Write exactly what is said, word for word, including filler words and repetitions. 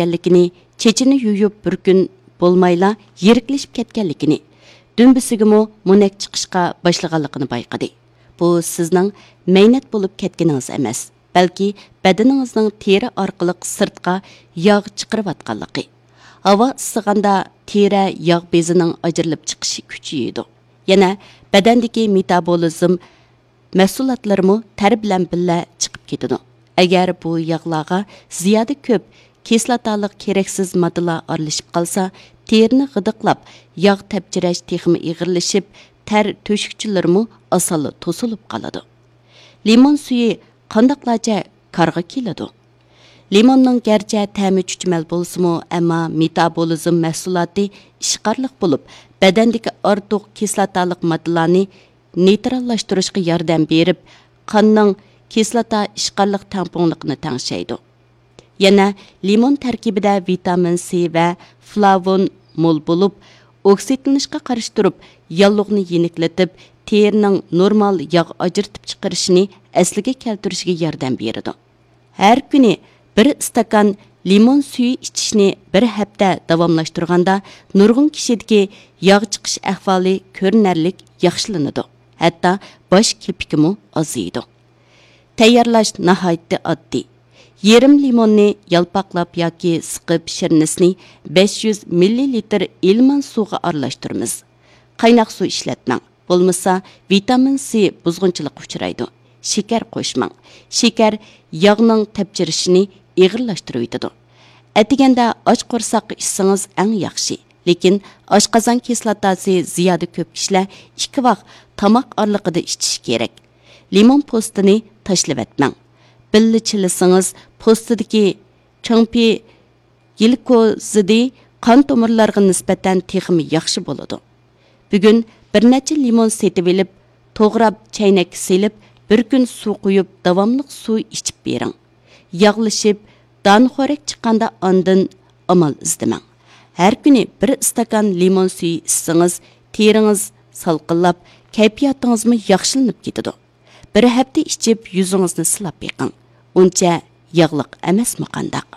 كەتكەنلىكىنى، چېچىنى يۇيۇپ بىر كۈن بولمايلا يىرىكلىشىپ كەتكەنلىكىنى، دۈمبىسىگىمۇ مونەك چىقىشقا باشلىغانلىقىنى بايقىدى. بۇ سىزنىڭ مەينەت بولۇپ كەتكىنىڭىز ئەمەس، بەلكى بەدىنىڭىزنىڭ تېرە ئارقىلىق سىرتقا ياغ چىقىرىۋاتقانلىقى. ھاۋا ئىسسىغاندا تېرە ياغ بېزىنىڭ ئاجرىلىپ چىقىش كۈچىيىدۇ. يەنە بەدەندىكى مېتابولىزم مەھسۇلاتلىرىمۇ تەر بىلەن بىللە چىقىپ كېتىدۇ. ئەگەر بۇ ياغلارغا زىيادە كۆپ كىسلاتالىق كېرەكسىز ماددىلار ئارىلىشىپ قالسا، تېرىنى غىدىقلاپ، ياغ تەپچىرەش تېخىمۇ ئېغىرلىشىپ، تەر تۆشۈكچىلىرىمۇ ئاسانلا توسۇلۇپ قالىدۇ. لىمون سۈيى قانداقلارچە كارغا كېلىدۇ؟ لىموننىڭ گەرچە تەمى چۈچۈمەل بولسىمۇ، ئەمما مېتابولىزم مەھسۇلاتى ئىشقارلىق بولۇپ، بەدەندىكى ئارتۇق كىسلاتالىق ماددىلارنى نېيتراللاشتۇرۇشقا ياردەم بېرىپ، قاننىڭ كىسلاتا ئىشقارلىق تەڭپۇڭلۇقىنى تەڭشەيدۇ. يەنە لىمون تەركىبىدە ۋىتامىن سى ۋە فلاۋون مول بولۇپ، ئوكسىدلىنىشقا قارشى تۇرۇپ، ياللۇغنى يېنىكلىتىپ، تېرىنىڭ نورمال ياغ ئاجرىتىپ چىقىرىشىنى ئەسلىگە كەلتۈرۈشىگە ياردەم بېرىدۇ. ھەر كۈنى بىر ئىستاكان لىمون سۈيى ئىچىشنى بىر ھەپتە داۋاملاشتۇرغاندا، نۇرغۇن كىشىدىكى ياغ چىقىش ئەھۋالى كۆرۈنەرلىك ياخشىلىنىدۇ، ھەتتا باش كېپىكىمۇ ئازىيىدۇ. تەييارلاش ناھايىتى ئاددىي. يېرىم لىموننى يالپاقلاپ ياكى سىقىپ، شىرنىسىنى بەش يۈز مىللىلىتىر ئىلمان سۇغا ئارىلاشتۇرىمىز. قايناق سۇ ئىشلەتمەڭ، بولمىسا ۋىتامىن سى بۇزغۇنچىلىققا ئۇچرايدۇ. شېكەر قوشماڭ. شېكەر ياغنىڭ تەپچىرىشىنى ئېغىرلاشتۇرۇۋېتىدۇ. ئەتىگەندە ئاچ قورساققا ئىچسىڭىز ئەڭ ياخشى. لېكىن ئاشقازان كىسلاتاسى زىيادە كۆپ كىشىلەر ئىككى ۋاق تاماق ئارىلىقىدا ئىچىشى كېرەك. لىمون پوستىنى تاشلىۋەتمەڭ. بىللە چىلىسىڭىز، پوستىدىكى چىڭپى گليكوزىدى قان تومۇرلارغا نىسبەتەن تېخىمۇ ياخشى بولىدۇ. بۈگۈن بىر نەچچە لىمون سېتىۋېلىپ، توغراپ، چەينەككە سېلىپ، بىر كۈن سۇ قۇيۇپ، داۋاملىق سۇ ئىچىپ بېرىڭ. ياغلىشىپ، دانىخورەك چىققاندا ئاندىن ئامال ئىزدىمەڭ. ھەر كۈنى بىر ئىستاكان لىمون سۈيى ئىچسىڭىز، تېرىڭىز سالقىنلاپ، كەيپىياتىڭىزمۇ ياخشىلىنىپ كېتىدۇ. بىر ھەپتە ئىچىپ، يۈزىڭىزنى سىلاپ بېقىڭ. ئۇنچە ياغلىق ئەمەسمۇ قانداق؟